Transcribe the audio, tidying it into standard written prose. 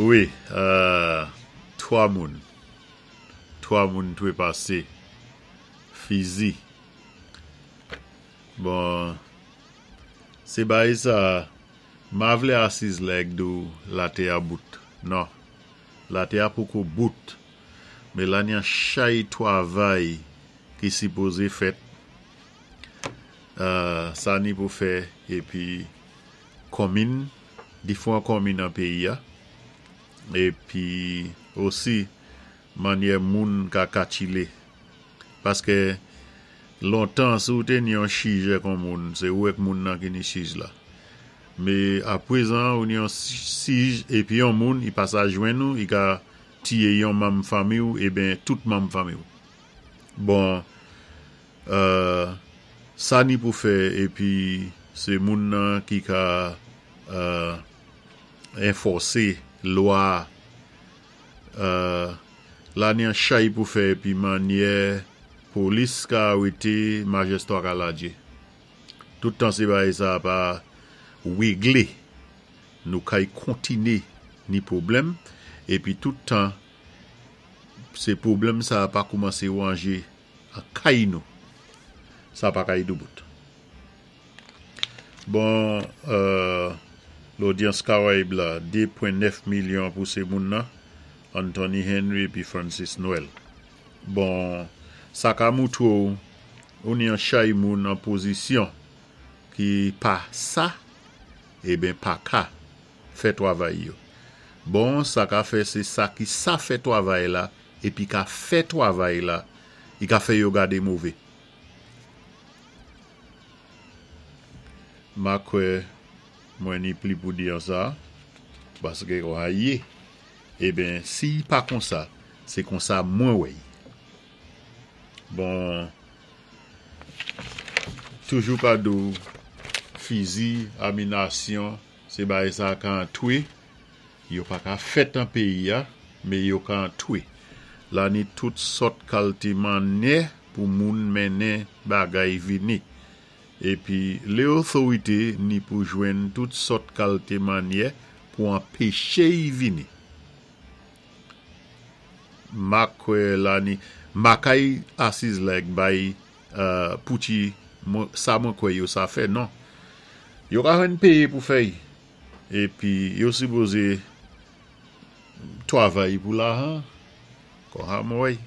Wi, 3 moun, 3 moun twépasé, fizi. Bon, sé bagay sa, ma vlé asiz la èk di-w latè a bout. Non, latè a poko bout, mé la ni an chay twavay ki sipozé fèt, sa ni pou fè épi konmin, difwan konmin an péyi a, épi osi mannyè moun ka katchilé. Paské lontan si ou té ni yon chij èk on moun, sé ou èk moun nan ki ni chij la. Mé aprezan ou ni yon sij épi yon moun i pa sa jwenn ou, i ka tiyé yon manm fanmi-w eben tout manm fanmi-w. Bon, sa ni pou fè épi sé moun nan ki ka enfòsé lwa a. La ni an chay pou fè épi mannyè polis ka arété majèstwa ka ladjé. Tout tan sé bagay sa a pa wéglé, nou kay kontiné ni pwoblèm épi tout tan sé pwoblèm sa a pa koumansé wanjé an kay nou, sa pa kay doubout. Bon, lodyans Karayib la, 2 pwen 9 milyon pou sé moun nan, Anthony Henry épi Francis Noel. Bon, sa ka moutwé-w ou ni an chay moun an pozisyon ki pa sa, eben pa ka fè twavay yo. Bon, sa ka fè sé sa ki sa fè twavay la épi ka fè twavay la, i ka fè yo gadé mové. Ma kwè mwen ni pli pou di an sa, paské kon a yé, eben si i pa konsa, sé konsa mwen wè-y. Bon, toujou ka di-w fizi, aminasyon, sé bagay sa ka antwé, yo pa ka fèt an péyi a, mé yo ka antwé. La ni tout sòt kalté mannyè pou moun mennen bagay vini. Épi lé otorité ni pou jwenn tout sòt kalté mannyè pou anpéché-y vini. Ma kwè la ni ma kay asiz la èk bay pouti sa mwen kwè yo sa fè non. Yo ka jwenn péyé pou fè-y. Épi yo sipozé twavay pou lajan. Kon sa mwen wè-y.